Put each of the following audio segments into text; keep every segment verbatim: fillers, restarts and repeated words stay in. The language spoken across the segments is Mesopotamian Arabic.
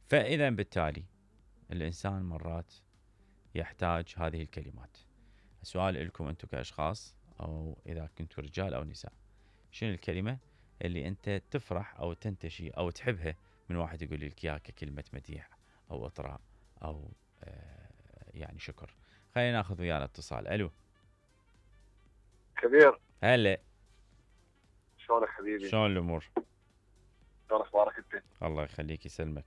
فإذا بالتالي الإنسان مرات يحتاج هذه الكلمات. السؤال لكم أنتم كأشخاص، أو إذا كنتوا رجال أو نساء، شنو الكلمة اللي أنت تفرح أو تنتشي أو تحبها من واحد يقول لك إياها ككلمة مديح أو إطراء أو آه يعني شكر؟ خلينا ناخذ ويانا اتصال. ألو كبير، هلا، شلونك حبيبي؟ شلون الأمور؟ شلون اخبارك انت؟ الله يخليك يسلمك.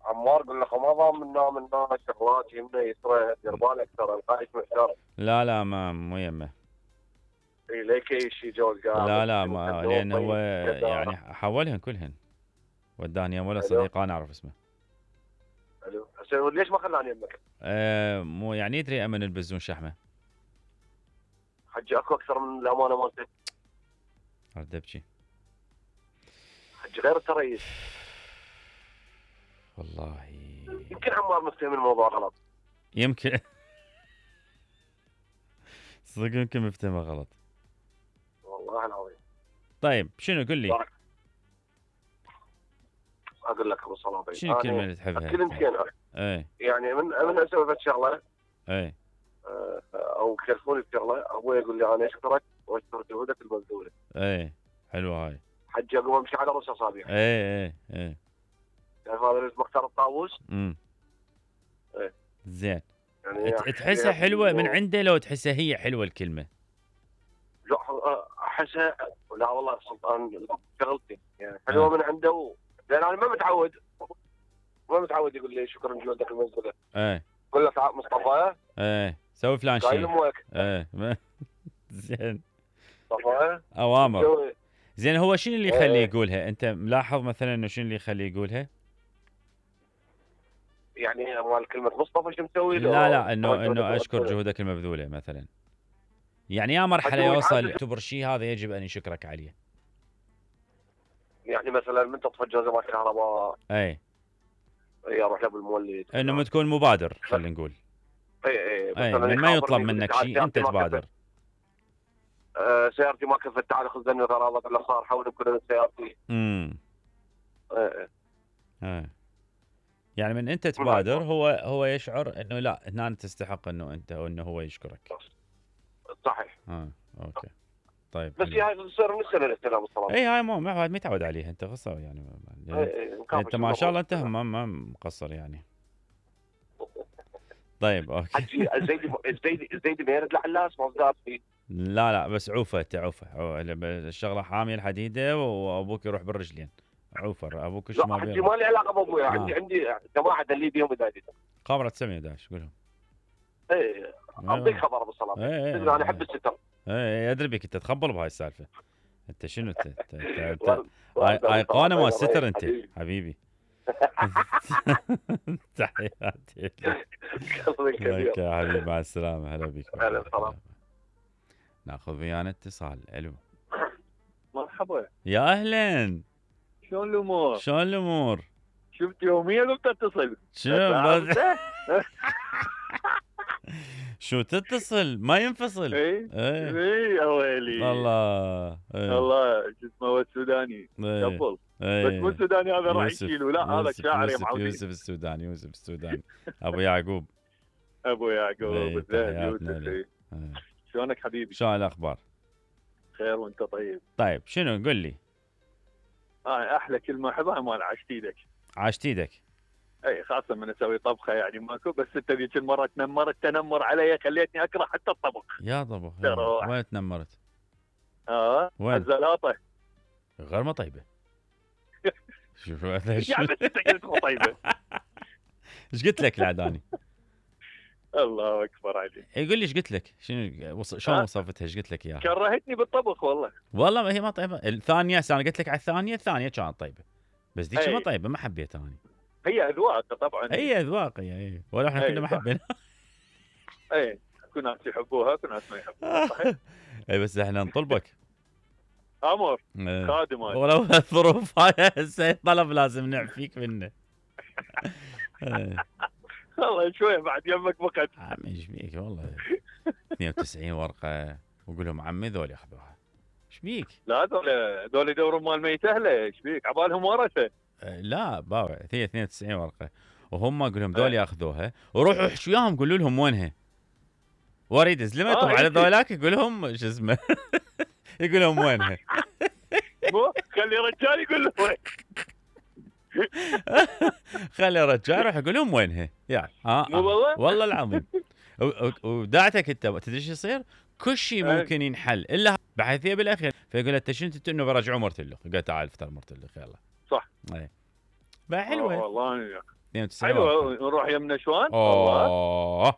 عمار قل لك ما ضامنا منا شغلات يمنا يسرى، دير بالك ترى القايد محتار. لا لا ما مو يمه. اي ليك اي شيء جو القاعد. لا لا ما لان هو يعني حولهن كلهن وداني ولا صديق انا اعرف اسمه. الو هسه ليش ما خلاني يمك؟ أه مو يعني يدري امن البزون شحمه. حجي اكو اكثر من الامانه مالتك. ارد ابكي. حجي غير التريس. والله يمكن عمار مفتهم الموضوع غلط. يمكن صدق يمكن مفتهمه غلط. والله العظيم. طيب شنو قل لي؟ بارك. اقول لك ابو صلابي شنو الكلمه اللي تحبها؟ كلمتين ايه يعني من من اسوي فد شغله ايه او كلفوني بشغله، ابوي يقول لي انا اشكرك واشكر جهودك المبذوله. ايه حلوه هاي. حجي اقوم امشي على رؤوس اصابع. ايه ايه ايه تعرف هذا اللي مختار الطاووس؟ امم ايه زين. يعني تحسها حلوه من عنده لو تحسها هي حلوه الكلمه؟ لا احسها لا والله سلطان شغلتي يعني حلوه آه. من عنده و... لان انا ما متعود ما متعود يقول لي شكرا جهودك المبذوله. ايه يقول لك مصطفى ايه سوي فلان شيء. ايه زين مصطفى اوامر. زين هو شنو اللي يخليه ايه. يقولها؟ انت ملاحظ مثلا انه شنو اللي يخليه يقولها؟ يعني مال كلمه مصطفى شو مسوي له؟ لا لا انه انه اشكر جهودك المبذوله مثلا. يعني يا مرحله يوصل يعتبر شيء هذا يجب ان يشكرك عليه. يعني مثلا من تطفى جوزة الكهرباء اي اي اروح له بالمولد انه تكون مبادر خلينا نقول. اي اي مثلا من ما يطلب منك شيء انت تبادر. آه سيارتي ما كفت تعال خذ ذني غراضك اللي صار حول بكل سيارتي. امم اي اي يعني من انت تبادر هو هو يشعر انه لا هنا تستحق انه انت وانه هو يشكرك. صحيح. اه اوكي طيب بس هي هاي تصير من السنه الاستلام الصراحه. اي هاي مو ما متعود عليها انت قصه يعني, يعني اي انت ما شاء الله انت ما ما مقصر يعني. طيب اوكي. حجي الزيدي الزيدي الزيدي ما يرد لعلاس ما صار فيه. لا لا بس عوفه تعوفه الشغله حاميه الحديده وابوك يروح بالرجلين. عوفر ابوك ايش ما حجي ما لي علاقه بابويا. آه. عندي عندي جماعه اللي بيهم بدايتي خبره تسعمية وأحد عشر قولهم. اي اعطيك خبر ابو صلاح. ايه انا احب الستر. ايه ادري بك انت تخبل بهاي السالفه. انت شنو انت انت ايقونه مال الستر انت حبيبي. تحياتي لك يا حبيبي مع السلامه. هلا بك. ناخذ ويانا اتصال. الو مرحبا. يا اهلا. شلون الامور؟ شلون الامور؟ شفت يوميا لو تتصل؟ شو شو تتصل ما ينفصل؟ اي اي يا ويلي الله الله شو اسمه هو السوداني قبل بس مو السوداني هذا راح يشيله. لا هذا شاعر يا معودي. يوسف السوداني يوسف السوداني ابو يعقوب ابو يعقوب يوسف. شلونك حبيبي؟ شلون الاخبار؟ خير وانت طيب. طيب شنو قل لي؟ اه احلى كلمه احبها مال عاشت ايدك. عاشت ايدك. اي خاصه من اسوي طبخه يعني ماكو بس انت ذيك المره تنمرت تنمر علي خليتني اكره حتى الطبخ. يا طبخ وين تنمرت؟ اه وين؟ الزلاطه غير ما طيبه. شوف هذا يعني بس انت قلت مو طيبه. ايش قلت لك العداني؟ الله اكبر عليك. يقول لي ايش قلت لك؟ شنو شلون وصفتها؟ ايش قلت لك اياها؟ كرهتني بالطبخ والله. والله ما هي ما طيبه. الثانيه انا قلت لك على الثانيه الثانيه كانت طيبه بس ذيك ما طيبه ما حبيتها انا. هي اذواق طبعا. هي اذواق هي ولا احنا كنا ما حبينا. اي اكو ناس يحبوها اكو ناس ما يحبوها. صحيح. اي بس احنا نطلبك امر خادم ولو الظروف هاي هسه طلب لازم نعفيك منه. والله شويه بعد يمك وقت. عم ايش بيك والله اثنين وتسعين ورقه وقول لهم عمي ذول ياخذوها. ايش بيك؟ لا ذول ذول يدورون مال ميت اهله. ايش بيك؟ عبالهم ورثه. لا باوع هي اثنين وتسعين ورقه وهم اقول لهم ذول ياخذوها وروحوا احشوا وياهم قولوا لهم وينها. واريد ازلمه طبعا على ذولاك يقول لهم شو اسمه يقول لهم وينها. مو خلي رجال يقول له وين. خلي رجال يروح يقول لهم وينها يا اه, مو والله والله العظيم. ودعتك انت تدري ايش يصير؟ كل شيء ممكن ينحل الا بحيثيه بالاخير فيقول له انت شنو انت انه برجعوا مرتلخ. قال تعال افطر مرتلخ يلا. صح. اي بقى حلوه والله اثنين وتسعين حلوه. نروح يم نشوان. والله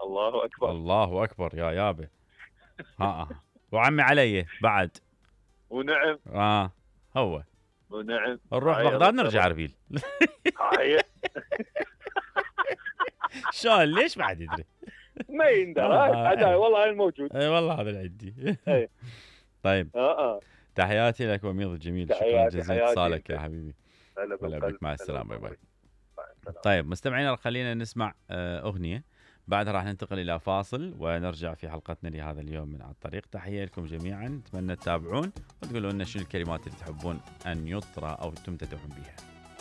الله اكبر الله اكبر يا يابا. ها وعمي علي بعد. ونعم. اه هو ونعم. نروح بغداد نرجع اربيل. هاي شلون ليش ما حد يدري؟ ما يندرى هذا والله هاي الموجود. اي والله هذا اللي عندي. طيب اه اه تحياتي لك وميض الجميل. شكرا جزيلا اتصالك يا حبيبي. هلا بك مع السلامه. باي باي. طيب مستمعينا خلينا نسمع اغنيه بعدها راح ننتقل الى فاصل ونرجع في حلقتنا لهذا اليوم من على الطريق. تحيه لكم جميعا اتمنى تتابعون وتقولوا لنا شنو الكلمات اللي تحبون ان يطرى او تمتدحون بها.